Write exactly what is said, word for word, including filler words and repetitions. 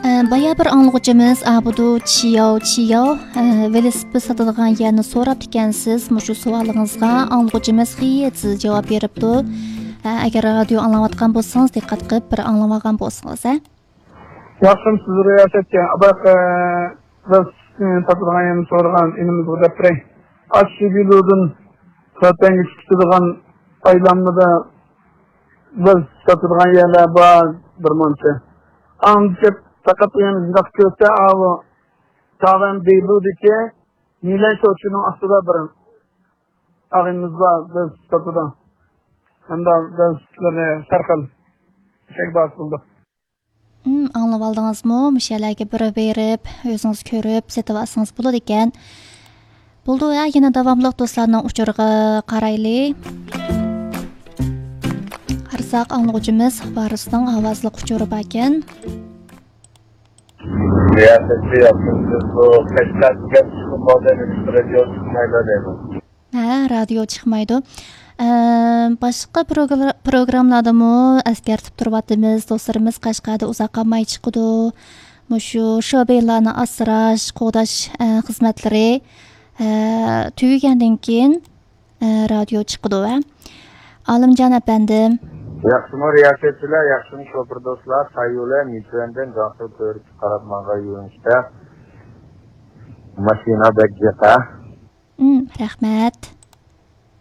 ئە، بايا بىر ئاڭلىغۇچىمىز ئابىدۇ چياۋ چياۋ، ئە، ۋېلىسىپىت ساتىدىغان يەرنى سوراپتىكەنسىز. مۇشۇ سوئالىڭىزغا ئاڭلىغۇچىمىز خېيىتسىز جاۋاب بېرىپتۇ. ئە، ئەگەر رادىيو ئاڭلاۋاتقان بولسىڭىز، دىققەت قىلىپ بىر ئاڭلىۋالغان بولسىڭىز، ھە؟ ياخشىمۇسىز رىياسەتچى؟ ئاباق، ئە، بىز ساتىدىغان يەرنى سورىغان ئىنىمىزغا دەپ بېرەي. ئاششىبىلۇدىن خوتەنگە چىقىدىغان ئايلانمىدا بىز ساتىدىغان يەرلەر بار بىر مۇنچە. ئاڭدا پەقەت يەنە شۇنداق كۆرسە، ئاۋۇ تاۋەن دېبۇدىكى مىلەن شوچىنىڭ ئاستىدا بىر ئاغىنىمىز بار، بىز ساتىدۇ. ھەمدە بىز سىلەرنى سەرخىل چەك باسىدۇ. ئاڭلىۋالدىڭىزمۇ؟ مۇشۇ يەرلەرگە بىر بېرىپ، ئۆزىڭىز كۆرۈپ سېتىۋالسىڭىز بولىدىكەن. بولدى، ھە، يەنە داۋاملىق دوستلارنىڭ ئۇچۇرىغا قارايلى. قارىساق، ئاڭلىغۇچىمىز ۋارىسنىڭ ئاۋازلىق ئۇچۇرى باركەن. رىياسەتچى ياپتىم، سىز بۇ قەشقەر دېگەن چىقىم بولدى، نېمىشقا رادىيو چىقمايدۇ دەيمەن. ھە، رادىيو چىقمايدۇ. ئە، باشقا پروگرا-، پروگراممىلاردىمۇ ئەسكەرتىپ تۇرۇۋاتىمىز، دوستلىرىمىز قەشقەردە ئۇزاق قالماي چىقىدۇ. مۇشۇ شوبىنلارنى ئاسراش، قوغداش، ئە، خىزمەتلىرى، ئە، تۈگىگەندىن كېيىن، ئە، رادىيو چىقىدۇ، ھە. ئالىمجان ئەپەندىم. ياخشىمۇ رىياسەتچىلەر، ياخشىمۇ شوپۇر دوستلار؟ سايۇلە مىچۈەندىن جاڭسۇ تۆرىسى قاراپ ماڭغان يۆنىلىشتە ماشىنا بەك جىق، ھە؟ ئىم، رەھمەت.